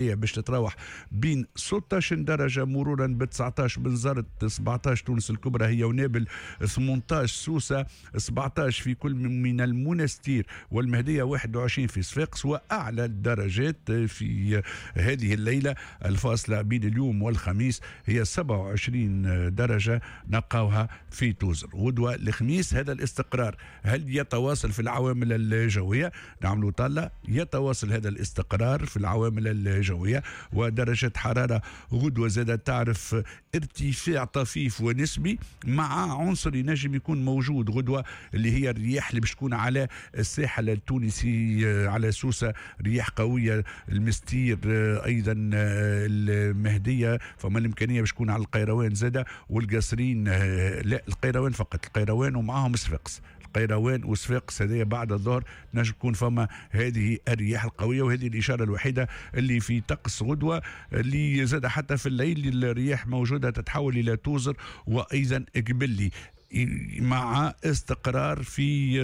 باش تتراوح بين 16 درجة مرورا ب 19 بنزرت، 17 تونس الكبرى هي ونابل، 18 سوسة، 17 في كل من المنستير والمهدية، 21 في صفاقس. وأعلى الدرجات في هذه الليلة الفاصلة بين اليوم والخميس هي 27 درجة نلقاوها في توزر. غدوة الخميس هذا الاستقرار هل يتواصل في العوامل الجوية؟ نعملوا طلة، يتواصل هذا الاستقرار في العوامل الجوية ودرجة حرارة غدوة زادة تعرف ارتفاع طفيف ونسبي مع عنصر ينجم يكون موجود غدوة اللي هي الرياح اللي باش تكون على الساحل التونسي، على سوسة رياح قوية، المستير، أيضا المهدية، فما الإمكانية باش تكون على القيروان زادة والقصرين، لا القيروان فقط، القيروان ومعاهم صفاقس، القيروان وصفاقس هذه بعد الظهر نجم تكون فما هذه الرياح القوية. وهذه الإشارة الوحيدة اللي في طقس غدوة اللي زاد حتى في الليل الرياح موجودة تتحول إلى توزر وأيضا قبلي مع استقرار في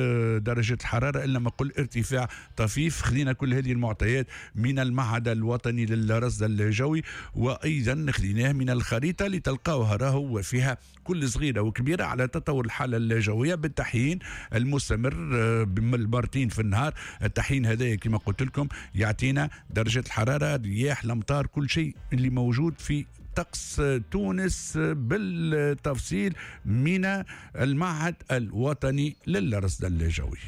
درجة الحرارة إلا ما قل ارتفاع طفيف. خذينا كل هذه المعطيات من المعهد الوطني للرصد الجوي، وأيضا خذيناه من الخريطة اللي تلقاوها راهو وفيها كل صغيرة وكبيرة على تطور الحالة الجوية بالتحيين المستمر بالمرتين في النهار. التحيين هذا كما قلت لكم يعطينا درجة الحرارة، الرياح، الأمطار، كل شيء اللي موجود في طقس تونس بالتفصيل من المعهد الوطني للرصد الجوي.